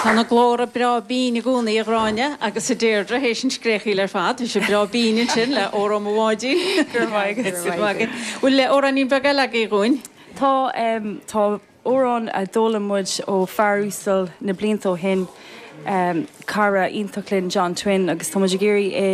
Tá na glórtha breá binn i gcónaí, a Ghráinne agus a Deirdre, théis an scréachaíl ar fad. Bhí sé breá binn ansin le Óró Mo Bháidín. Go raibh maith agat. Go raibh maith agat. Bhfuil amhráinín beag eile agaibh dhúinn? Tá, tá amhrán a d'fhoghlaim muid ó fear uasal na blianta ó shin, cara iontach linn, John Twin, agus tá muid ag iarraidh é.